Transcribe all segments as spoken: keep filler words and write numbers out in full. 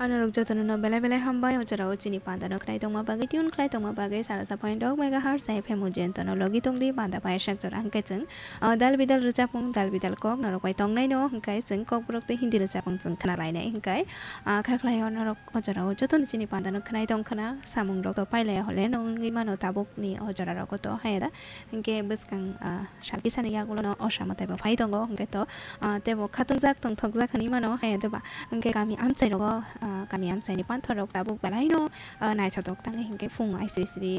Anorok jotono no belai belai hambai, o jorao chini panda no khnai tongma bagwi, tune khlai tongma bagwi, sara sa point dok megahertz F M Ujento no logi tongdi, panda pai sak jora hwnkhe chwng, ah, dal bidal rwchapung, dal bidal kok norok bai tongnai no hwnkhe chwng kokborok tei Hindi rwchapung chwng khna lainai hwnkhe, ah, kha khlai o norok o jorao jotono chini panda no khnai tong khna, samung rok to pailaya hole no wngwi mano tabuk ni o jora rogo to haya da, hwnkhe bwskang, ah, sal kisa ni yagulo no o sama taibo phai tongo, hwnkhe to, ah, teibo khatungjak tongthokjak hinwi mano, haya da ba. Hwnkhe kami amchai rogo, ah, kami amchai ni panthor rok tabuk belai no, ah, naithotok tangwi hwnkhe phung aisiri siri,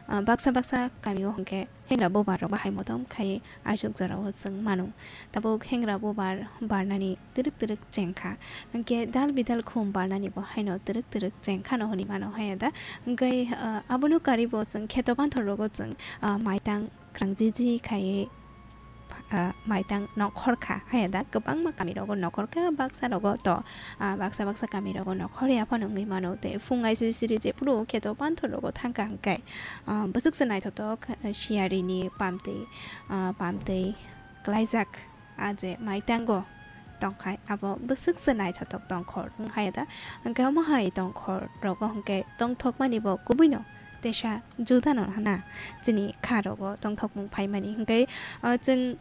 ah, baksa baksa kami o hwnkhe hengra bubar rok bahai motom khai aisuk jora o chwng mano. Tabuk hengra bubar barnani twrwk twrwk chengkha. Hwnkhe dal bidal khum barnani bo haino twrwk twrwk chengkha no hinwi mano haya da. Hwnkhe, ah, abono karibo chwng kheto panthor rogo chwng, ah, maitang kwrang jiji khai, ah, maitang nokhor kha haya da. Kwbangma kami rogo nokhor kha, baksa rogo to, ah, baksa baksa kami rogo nokhor ya phano wngwi mano. Tei phung aisiri siri jephuru kheto panthor rogo thangkha hwnkhe, ah, bwswk se naithotok, ah, siyari ni pamtwi, ah, pamtwi klaijak. A je maitango tongkhai, abo bwswk se naithotok tongkhor wng hai da. Hwnkhe omo hai tongkhor rogo hwnkhe tongthokmani bo kubui no tesa juda no hana chini kha rogo tongthokmung phaimani. Hwnkhe, ah, chwng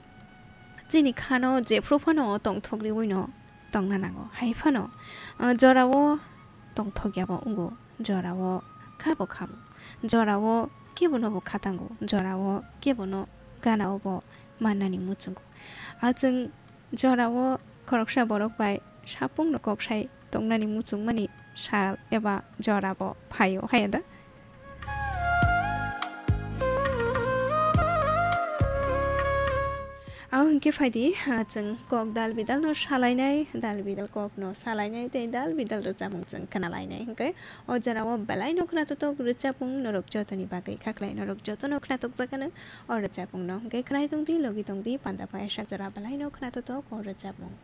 chini khano jephru phano tongthok riui no tongna nango. Hai phano, ah, jorao tongthok ya bo wngo, jorao kha bo kha bo, jorao kebo no bo kha tango, jorao kebo no gana o bo mannani muchungo. A chwng jorao khoroksa borok bai sapung no kok sai tongnani muchungmani sal eba jora bo phaio, haya da? Abo hwnkhe phaidi, ah, chwng kok dal bidal no salainai, dal bidal kok no salainai tei dal bidal rwchapmung chwng khna lainai. Hwnkhe o jora o belai no khna totok rwchapmung norok jotoni bagwi khaklai, norok joto no khna tokjakano o rwchapmung no. Hwnkhe khnai tongdi, logi tongdi, panda pai sak jora belai no khna totok o rwchapmung.